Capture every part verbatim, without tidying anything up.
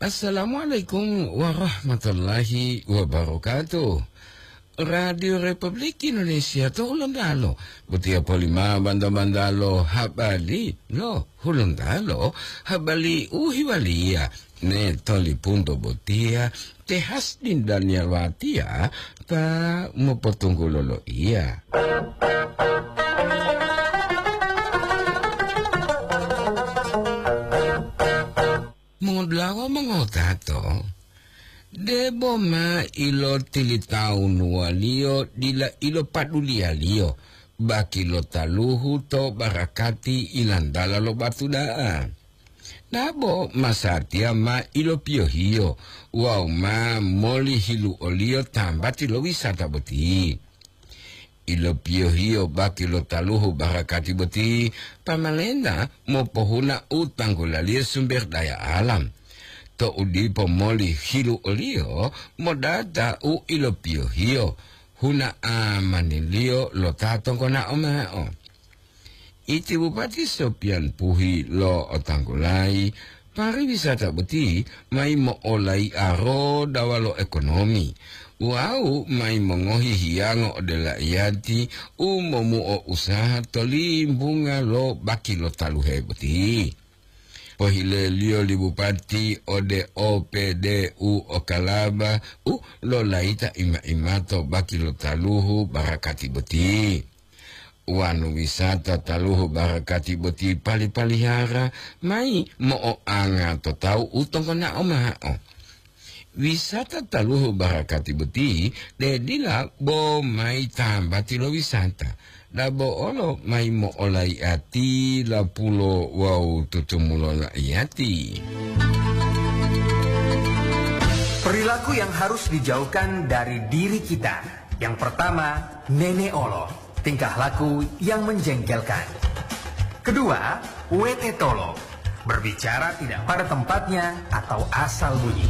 Assalamualaikum warahmatullahi wabarakatuh. Radio Republik Indonesia to Hulontalo, botiya polima banda-bandalo habari lo Hulontalo, habari u hiwaliya ne tolipunto botiya, te Hasdin Daniel Watiya ta mopotunggulo loiya. Mongolawa mongotato, debo ma ilotilitawunuwaliyo dila ilopaduliyaliyo baki lo taluhu to barakati ilantala lo batu da'a. Dabo masatiya ma ilopiyohiyo wawu ma molihiluoliyo tambati lo wisata boti. Ilopiyohiyo baki lo taluhu barakati boti, pamalenta mopohuna u tanggulaliyo sumber daya alam. To'u dipo moli hiluoliyo modata u ilopiyohiyo, huna amaniliyo lo ta tonggonao mao. Iti Bupati Sopian Puhi lo'otanggulayi, pariwisata boti mayi mo'olai'a rodawa lo ekonomi wawu mayi mongohi hiyango ode la'iyati u momuo usaha to limbunga lo baki lo taluhe boti. Pohileliyo li Bupati ode O P D U Okalaba u lolayita ima-imato baki lo taluhu barakati boti. Wonu wisata taluhu barakati boti pali-palihara mayi mo'oanga to tawu u tonggonao ma'o. Wisata taluhu barakati boti de dila bo mayi tambati lo wisata, dabo olo mayi mo'olai'ati lapulo wawu tutumulo la'iyati. Perilaku yang harus dijauhkan dari diri kita. Yang pertama, nene'olo. Tingkah laku yang menjengkelkan. Kedua, wetetolo. Berbicara tidak pada tempatnya atau asal bunyi.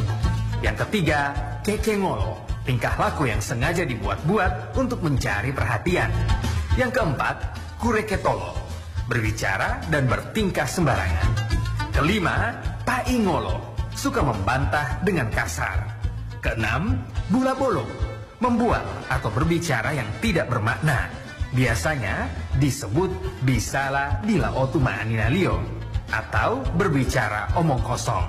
Yang ketiga, kekengolo. Tingkah laku yang sengaja dibuat-buat untuk mencari perhatian. Yang keempat, kureketolo. Berbicara dan bertingkah sembarangan. Kelima, paingolo. Suka membantah dengan kasar. Keenam, bula bolong. Membuat atau berbicara yang tidak bermakna. Biasanya disebut bisala dila otu ma'aninaliyo atau berbicara omong kosong.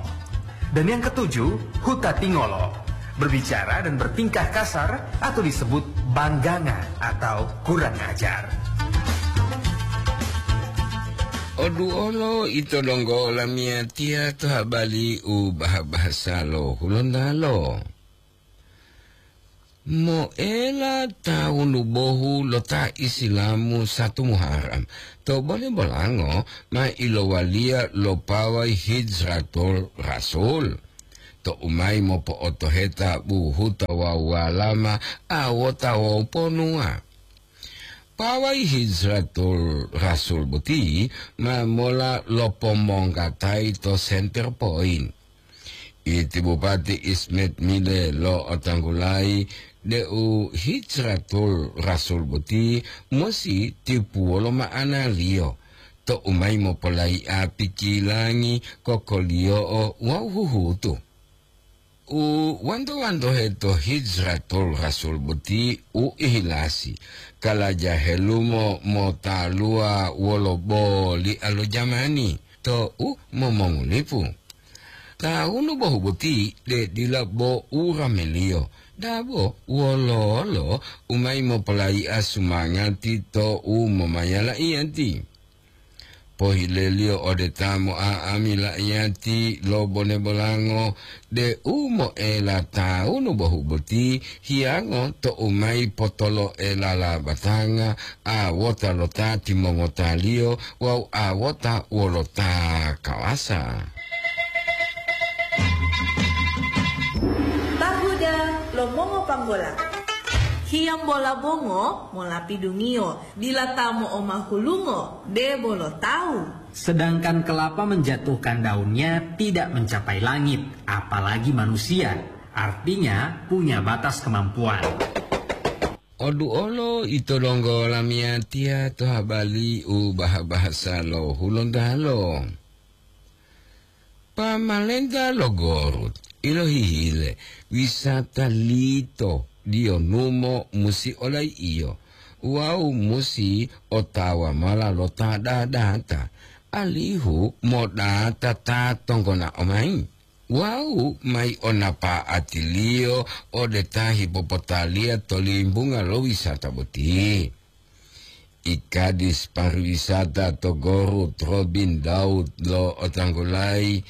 Dan yang ketujuh, hutatingolo. Berbicara dan bertingkah kasar atau disebut bangganga atau kurang ajar. Oduolo ito donggo lamiyatiya to habari u bahasa-bahasa lo Hulontalo. Moela tawunu bohu lo ta Isilamu satu Muharram, to bole bolango ma ilowaliya lo pawai Hijratul Rasul, to umayi mopo'otoheta buhuta wawu walama awota wawu ponuwa. Pawai Hijratul Rasul boti ma mola lopomonggatayi to Center Point. Iti Bupati Ismet Mile lo'otanggulayi deu Hijratul Rasul boti musi tipuwolo ma'analiyo, to umayi mopolayi'a pikilangi, kokoliyo'o wawu huhutu. U wanto-wantohe to Hijratul Rasul boti u ihilasi, kalaja helumo motaluwa wolo boli'a lo jamani to u momongulipu. Tawunu bohu boti de dila bo urameliyo, dabo wololo u mayi mopolayi'a sumangati to u momayala iyati. Pohileliyo ode ta mo'a'ami la'iyati lo bone bolango, de u moela tawunu bohu boti hiyango to u mayi potolo'elala batanga awota lo ta timongotaliyo wawu awota wolo ta kawasa. Tahuda lo mongopanggola. Hiyambola bongo molapidungiyo, dila ta mo'omahulungo debo lo tawu. Sedangkan kelapa menjatuhkan daunnya tidak mencapai langit, apalagi manusia. Artinya, punya batas kemampuan. Oduolo ito donggo lamiyatiya to habari u baha-bahasa lo Hulontalo. Pamalenta lo Gorut ilohihile wisata lito diyonumo musi olai'iyo wawu musi otawa mola lo ta dadata, alihu modata ta tonggonao mayi wawu mayi o napa'atiliyo ode ta hipopotaliya to limbunga lo wisata boti. I Kadis pariwisata to Gorut, Robin Daud lo otanggulayi,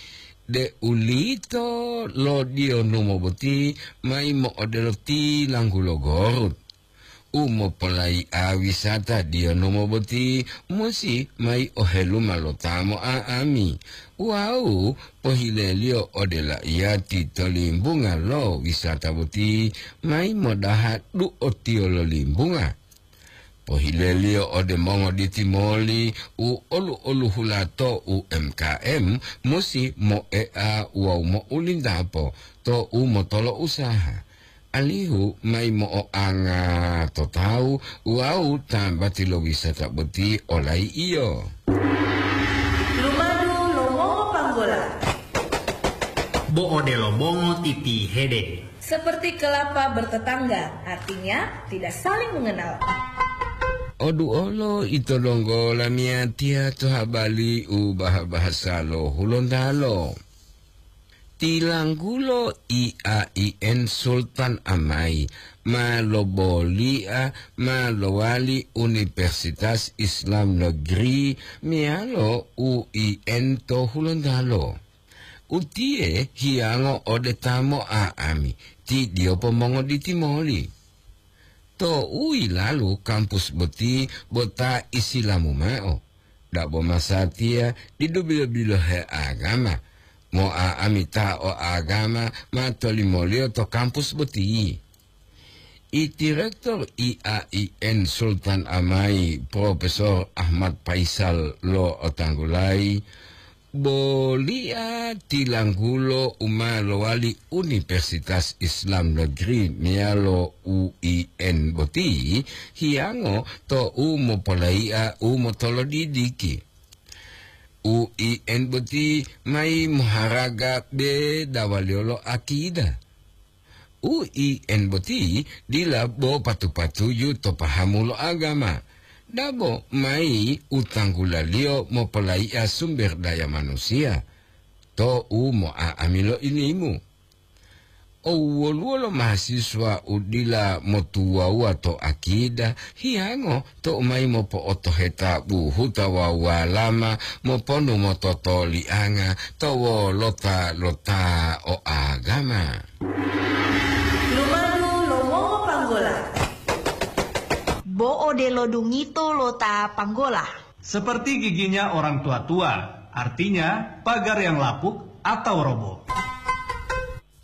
de'ulito lo diyonumo boti mayi mo'odelo tilanggulo Gorut. U mopolai'a wisata diyonumo boti musi mayi oheluma lo ta mo'a'ami wawu pohileliyo ode laiyati to limbunga lo wisata boti mayi modaha du'otiyo lo limbunga. Pohileliyo ode mongoditi moli u olu-oluhula to U M K M musi mo'ea wawu mo'ulintapo to u motolo usaha, alihu mayi mo'oanga to tawu wawu tambati lo wisata boti olai'iyo. Lumadu lo mongo panggola. Bo odelo bongo titihede. Seperti kelapa bertetangga, artinya tidak saling mengenal. Oduolo ito donggo lamiyatiya to habali u baha-bahasa lo Hulontalo. Tilanggulo I A I N Sultan Amai ma loboli'a ma lowali Universitas Islam Negeri meyalo U I N to Hulontalo. Utiye hiyango ode ta mo'a'ami, ti diyopo mongoditi moli. To u yilalu kampus boti bo ta isilamu mao, dabo masatiya didu bilo-bilohe agama. Mo'a'ami ta o agama ma tolimoliyo to kampus boti. I Direktur I A I N Sultan Amai, Profesor Ahmad Faisal lo otanggulayi, boli'a tilanggulo u ma lowali Universitas Islam Negeri meyalo U I N boti hiyango to u mopolai'a u motolodidiki. U I N boti mayi moharaga bedawaliyo lo akida. U I N boti dila bo patu-patuju to pahamu lo agama, dabo mayi u tanggulaliyo mopolai'a sumber daya manusiya to u mo'a'ami lo ilimu. O woluwo lo mahasiswa u dila motuwawuwa to akida, hiyango to u mayi mopo'otoheta buhuta wawu walama moponu mototolianga to wolota lo ta o agama. Lumadu lo mongo panggola. Bo odelo dungito lo ta panggola. Seperti giginya orang tua-tua, artinya pagar yang lapuk atau roboh.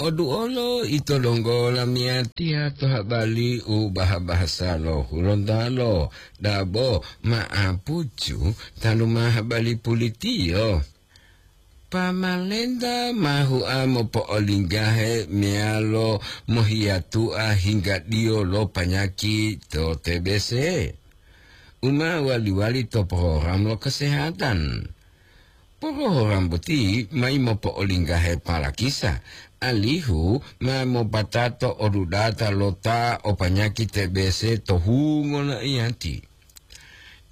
Oduolo ito donggo lamiyatiya to habali u baha-bahasa lo Hulontalo, dabo ma'apucu tanu ma habali pulitiyo. Pamalenta ma hua mopo'olinggahe meyalo mohiyatua hinggadiyo lo panyaki to T B C, u ma wali-wali to program lo kesehatan. Porohoram boti mayi mopo'olinggahe palakisa, alihu ma mopatato odudata lo ta o panyaki T B C to hungo lo iyati.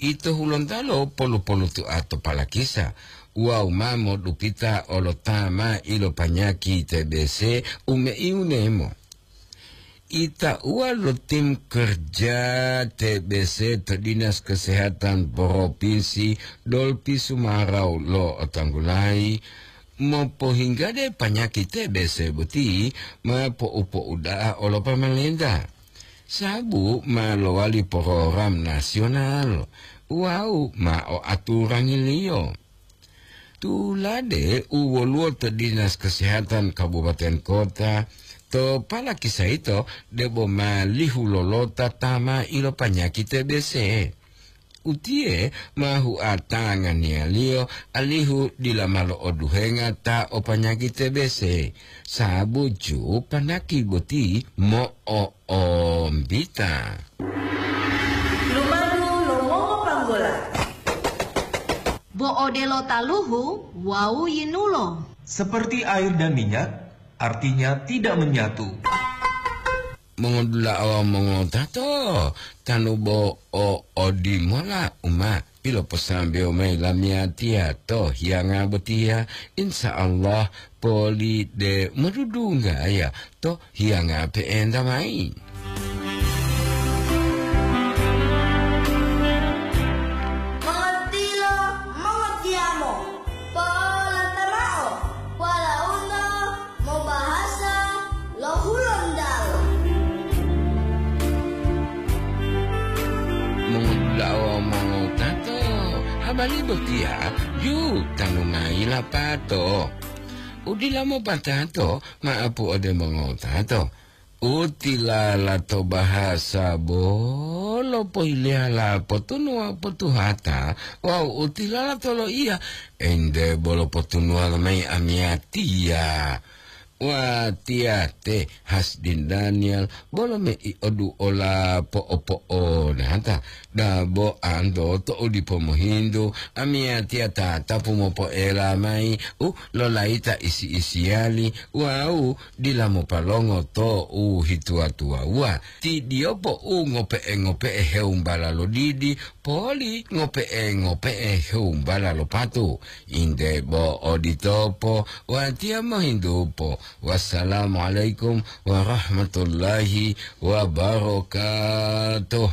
Ito Hulontalo polu-polutua to palakisa, wawu ma modupita olo ta ma ilopanyaki T B C u meiunemo. Itauwa lo tim kerja T B C to Dinas Kesehatan Provinsi Dolpi Sumarau lo otanggulayi, mopohinggade panyaki T B C boti ma po'u-po'uda'a olo pamalenta, sabu ma lowali program nasional wawu ma o aturangiliyo. Tulade u woluwo to Dinas Kesehatan Kabupaten Kota, to palakisa yito debo ma lihu lolota ta ma ilopanyaki T B C. Utiye ma huatanganiyaliyo alihu dila ma lo'oduhenga ta o panyaki T B C, sabuju panaki boti mo'o- ombita. Lumadu lo mongo panggola. Bo odelo taluhu wawu yinulo. Seperti air dan minyak, artinya tidak menyatu. Mongodula'a wawu mongotato, tanu bo o odimola u ma piloposambewo mayi lamiyatiya to hiyanga botiya, insya Allah poli de modudunggaya to hiyanga pe'enta mayi. Mongotilo, mongotiyamo, polanta mao, walauno mobahasa lo Hulontalo. Mongudula'a wawu mongotato, habari botiya ju tanu mayi lapato. Udila mopatato, ma'apu ode mongotato. Utilala to bahasa bolo pohileyala potunuwa potuhata wawu utilala to loiya, ente bolo potunuwa lomayi amiyatiya. Watiya te Hasdin Daniel bolo mei oduola po'opo'onata. Dabo anto to'u dipo mohintu, amiyatiya tatapu mopoela mayi u lolayita isi-isiyali wawu dila mopalongo to u hituwa-tuwawuwa. Ti diyopo u ngope'e-ngope'e hewumbala lo didi, poli ngope'e-ngope'e hewumbala lo patu. Inde bo oditopo, watiya mohintupo. Wassalamualaikum warahmatullahi wabarakatuh.